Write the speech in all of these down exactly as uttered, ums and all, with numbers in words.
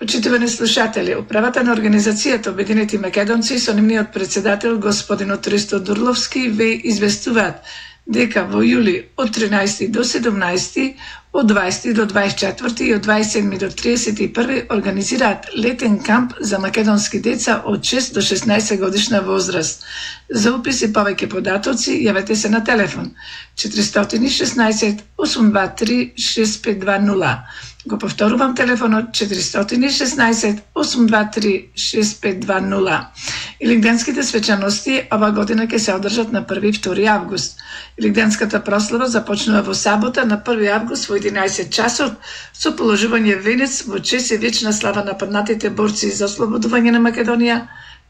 Почитувани слушатели, управата на Организацијата Обединети македонци со нивниот председател господин Христо Дурловски ве известуваат дека во јули од тринаесети до седумнаесети, од дваесети до дваесет и четврти и од дваесет и седми до триесет и први организираат летен камп за македонски деца од шест до шеснаесет годишна возраст. За упис и повеќе податоци јавете се на телефон четиристотини и шеснаесет осум два три шест пет два нула. Го повторувам телефонот четиристотини и шеснаесет осум два три шест пет два нула. Илигденските свечаности ова година ќе се одржат на први и втори август. Илигденската прослава започнува во сабота на први август во единаесет часот со положување венец во чест и вечна слава на паднатите борци за ослободување на Македонија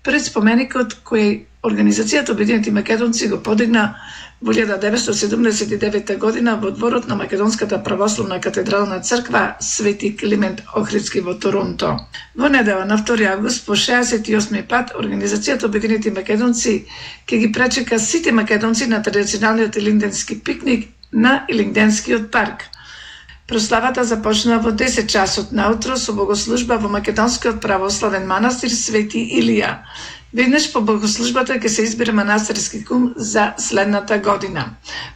пред споменикот кој Организацијата Обединети македонци го подигна во илјада деветстотини седумдесет и девета година во дворот на Македонската православна катедрална црква Свети Климент Охридски во Торонто. Во недела на втори август по шеесет и осми пат Организацијата Обединети македонци ќе ги пречека сите македонци на традиционалниот илингденски пикник на Илингденскиот парк. Прославата започна во десет часот наутро со богослужба во Македонскиот православен манастир Свети Илија. Веднаш по богослужбата ќе се избере манастирски кум за следната година.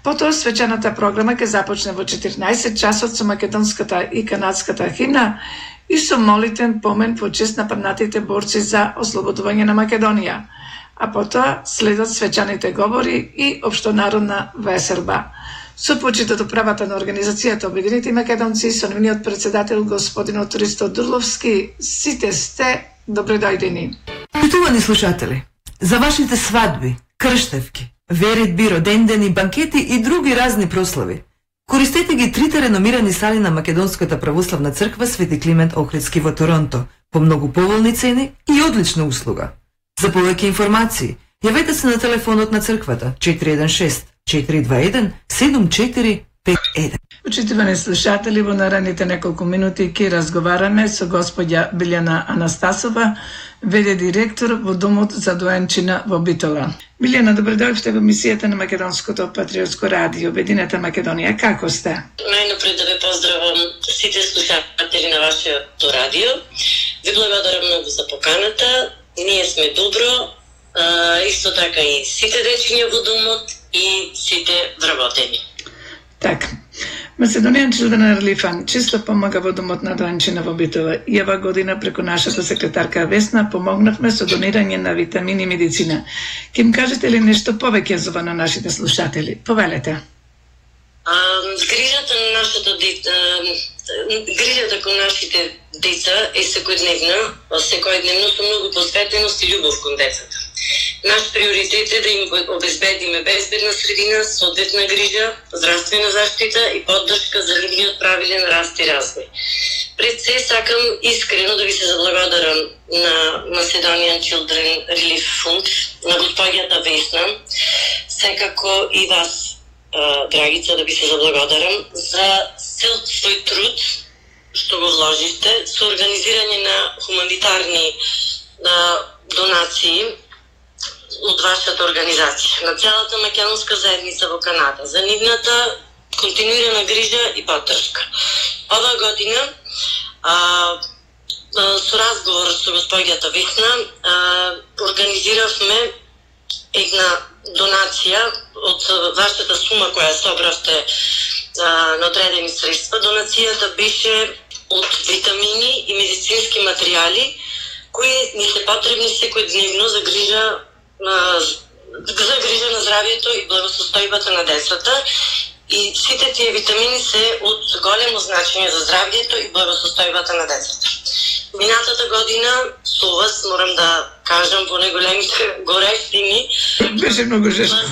Потоа свечаната програма ќе започне во четирнаесет часот со македонската и канадската химна и со молитен помен во чест на паднатите борци за ослободување на Македонија. А потоа следат свечаните говори и општонародна веселба. Со почит од управата на Организацијата Обединети македонци со нивниот председател господин Христо Дурловски, сите сте добре дојдени. Почитувани слушатели, за вашите свадби, крштевки, веридби, родендени, банкети и други разни прослави, користете ги трите реномирани сали на Македонската православна црква Свети Климент Охридски во Торонто по многу поволни цени и одлична услуга. За повеќе информации, јавете се на телефонот на црквата четири еден шест четири два еден седум четири пет еден. Почитувани слушатели, во наредните неколку минути ќе разговараме со господја Билјана Анастасова, веде директор во Домот за доенчина во Битола. Билјана, добре дојдовте во мисијата на Македонското патриотско радио, Обединета Македонија. Како сте? Најнапред да ве поздравам сите слушатели на вашето радио. Ви благодарам многу за поканата. Ние сме добро, а, исто така и сите дечиња во домот и сите вработени. Така. Macedonian Children Relief Fund често помага во Домот на доенчина во Битола и ова година преку нашата секретарка Весна помогнавме со донирање на витамини и медицина. Ке им кажете ли нешто повеќе за ова на нашите слушатели? Повелете. А, грижата на нашата дете, грижата кон нашите деца е секојдневна, секојдневно со многу посветеност и љубов кон децата. Наш приоритет е да им обезбедиме безбедна средина, соодветна грижа, здравствена заштита и поддршка за нивниот правилен раст и развој. Пред се сакам искрено да ви се заблагодарам на Macedonian Children Relief Fund, на госпоѓата Весна, секако и вас, драгица, да ви се заблагодарам за цел свој труд што го вложите со организирање на хуманитарни на донации од вашата организација, на целата македонска заедница во Канада, за нивната континуирана грижа и поддршка. Ова година, а, а, со разговор со госпоѓата Весна, а, организиравме една донација од вашата сума која собравте на одредени средства. Донацијата беше од витамини и медицински материјали кои ни се потребни секојдневно за грижа на за грижа на здравјето и благосостојбата на децата. И сите тие витамини се од големо значење за здравјето и благосостојбата на децата. Минатата година со вас, морам да кажам, во неголемите горештини, беше многу жестоко.